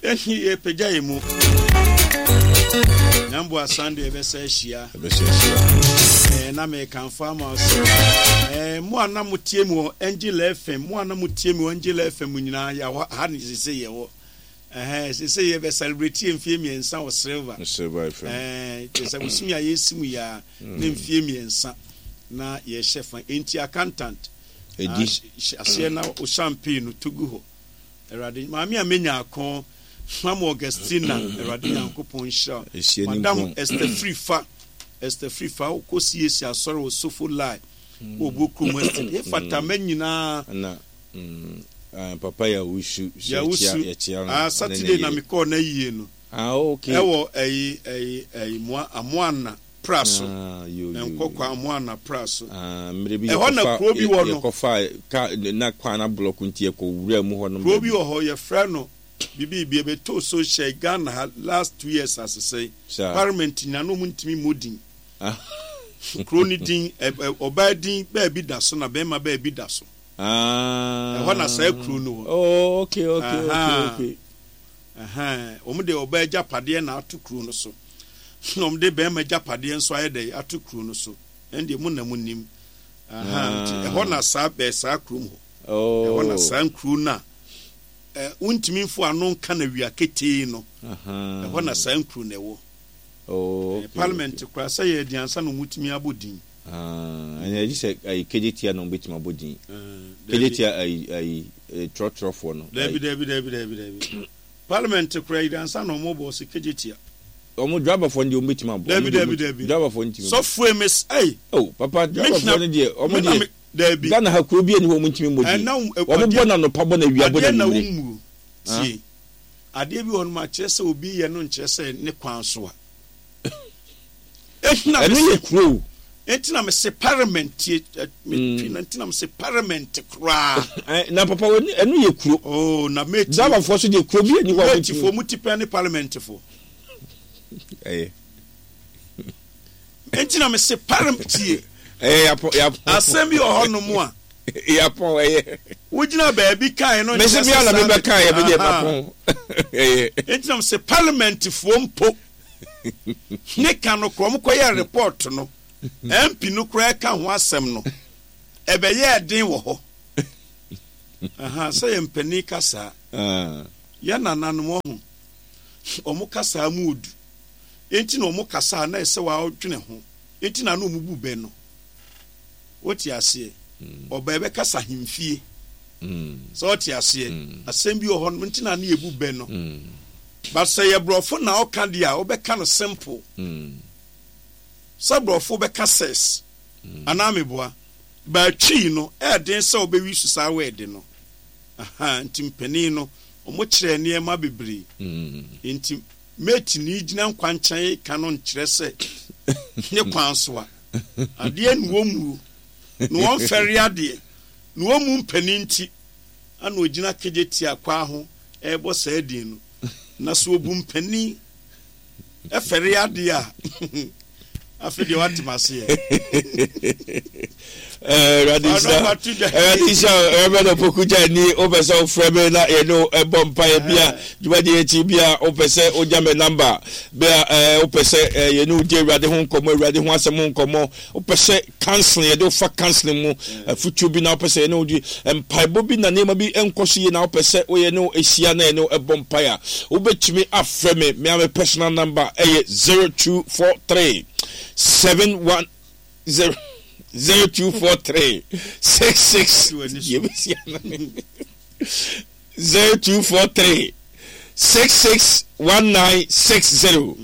Ɛnti yɛpagya yɛ mu. Nyamboa Sunday ɛbɛsɛ ahyia. Ɛbɛsɛ ahyia. Ɛɛ na mekamfo ama wo sɛ ɛɛ mo a na motie mu wɔ Angel FM, mo a na motie mu wɔ Angel FM nyinaa yɛ hɔ ha ne sese yɛ hɔ. Ɛhɛn sese yɛ bɛ celebrate yɛ mfie mmiɛnsa wɔ Silver. Silver FM. Ɛɛ kyerɛ sɛ bosome a yɛsi mu yɛ a ne mfie mmiɛnsa na yɛhyɛ fa. Enti accountant. Edi. Hyɛ aseɛ na o champagne no to gu hɔ. Awurade, maame a menya ako, Mama Augustina, Awurade Nyankopɔn nhyira wo. Madam Esther Frifa, Esther Frifa, wokɔ CAC asɔre wɔ Sofo Lai, mm. wɔ Obo kurom Estate. Hefata ma nyinaa. Na papa Yawusu, Yawusu, yɛkyia no. Ah, Saturday na mekɔɔ na yie no. Ah, okay. Ɛwɔ ɛyi ɛyi ɛyi moa amoana. pra so. Ah, yo, yo, Nkɔkɔ yo. Amoana pra so. Ah, mmerɛ bi Ɛhɔ na yɛkɔfa kuro bi wɔ no. yɛkɔfa ka na kwan na blɔk nti yɛkɔ wura mu hɔ nom Kuro bi baabi. wɔ hɔ yɛfrɛ no bibi bi ɛbɛtoo so hyɛ Ghana ha last 2 years asesɛe. Saa. Parliament nyina na ɔmo ntumi mmɔ din. Ah. Kuro no din ɛ ɛ ɔbaa din baabi da so na bɛrima baabi da so. Ah. Ɛhɔ na saa kuro no wɔ. Oh, okay, okay, okay, Aha. okay. Ɛhɛn, wɔn de ɔbaa agyapadeɛ na ato kuro no so, na wɔn de barima agyapadeɛ nso ayɛ dɛ ato kuro no so. Ɛn deɛ mo na mo nim. Ahan, nti ɛhɔ na saa bɛɛ saa kurom hɔ. Ɛhɔ na Oh. saa nkuro no a ɛ wontumi mfo ano nka na wia ketee no. Ɛhɔ na saa nkuro no ɛwɔ. Oh, okay, Parliament okay. koraa sɛ yɛ adiansa na wɔtumi abɔ din. Ah, ɛna ɛgye sɛ ayi kejetia na wɔbɛtumi abɔ din. Dabi. Kejetia ayi ayi trɔtrɔfoɔ no. Dabi dabi dabi dabi dabi. Parliament koraa yi ansa na wɔn bɔ ɔsɛ kejetia. Wɔn driverfoɔ no deɛ wɔn bɛtumi abɔ. Dabi dabi dabi. Driverfoɔ no ntumi. Sɔfoɔ emes ɛyi. Oh papa driverfoɔ no deɛ wɔn deɛ. Dabi. Ghana ha kuro bi ani hɔ wɔn ntumi mmɔ din. Wɔn bɔ na anɔpa bɔ na awia bɔ na Adeɛ na anwummere. wɔn mu tie. Adeɛ bi wɔ hɔ nom a kyerɛ sɛ obi yɛ no nkyerɛ sɛ ne kwan so a. Ɛno yɛ kuro o. Enti na mese parliament tie metwi na nti na mese parliament koraa. Na papa ɛno yɛ kuro. Oh na meti. Driverfoɔ so deɛ kuro bi ani hɔ a wɔn ti. Metifoɔ mu ti pɛn ne parliamentfoɔ. Ɛyɛ. Enti na mese parliament tie. Ɛyɛ yapɔ yapɔ. Asɛm bi wɔ hɔ nom a. Yapɔn ɛyɛ. Wogyina baabi kae no nkyerɛ sɛ. Mese mi a na mebɛ kae ɛbi deɛ mapɔn. Ɛyɛ. Enti na mese parliamentfoɔ mpo. Ne ka no korɔ, wɔkɔyɛɛ report no, MP no koraa ka ho asɛm no, ɛbɛyɛɛ den wɔ hɔ. Aha, sɛ yɛn mpanin kasaa, yɛn nananom ɔho, wɔn kasaa mu odu. Enti na wɔn kasaa na ɛsɛ wɔadwene ho. Enti na na wɔn bu bɛ no. Wote aseɛ? Ɔba ɛbɛkasa ahemfie. Sɛ wote aseɛ? Asɛm bi wɔ hɔ no, nti na ne yɛbu bɛ no. But sɛ yɛ borɔfo na ɔka deɛ a, wobɛka no simple. Sɛ borɔfo bɛka sex, anaa meboa? But Twi no, ɛyɛ den sɛ wobɛwi so saa word no. Aha, nti mpanin no, wɔkyerɛɛ nneɛma bebree. Nti mate ni gyina nkwankyɛn ka no nkyerɛ sɛ ne kwan so a. Adeɛ na wɔmmuo, na wɔmfɛre adeɛ, na wɔmmu mpanin nti ana ɔgyina Kejetia kwaa ho rebɔ saa din no. Na sɛ ɔbu mpanin fɛre adeɛ a, afei deɛ wate m'aseɛ. Awurade nhyira Awurade nhyira Reverend Opoku Gyani wopɛ sɛ wofrɛ me na yɛne wo ɛbɔ mpaeɛ bi a dwumadie akyi bi a wopɛ sɛ wogya me namba bi a wopɛ sɛ yɛne wo di Awurade ho nkɔmmɔ Awurade ho asɛm ho nkɔmmɔ wopɛ sɛ counseling yɛde wofa counseling mu afutuo bi na wopɛ sɛ yɛne wo di mpaebɔ bi na nneɛma bi nkɔ so yie na wopɛ sɛ woyɛ ne wo ahyia na yɛne wo ɛbɔ mpaeɛ a wobɛtumi afrɛ me me a me personal number ɛyɛ 0243 71 0 0243 66 0243 66 1960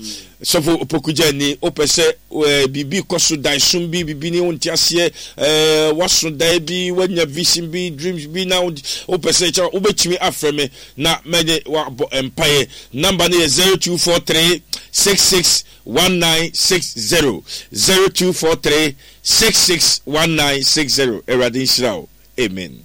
sɔfo opokugya ni wopɛ sɛ eh, biribi kɔ so daesom bi biribi ne wonte aseɛ eh, waso dae bi wanya vision bi dreams bi na wopɛ sɛ kyɛ wobɛtumi afrɛ me na mɛne wabɔ mpaeɛ namba no yɛ 0243 66 1960 0243 66 1960 Awurade nhyira wo. Amen.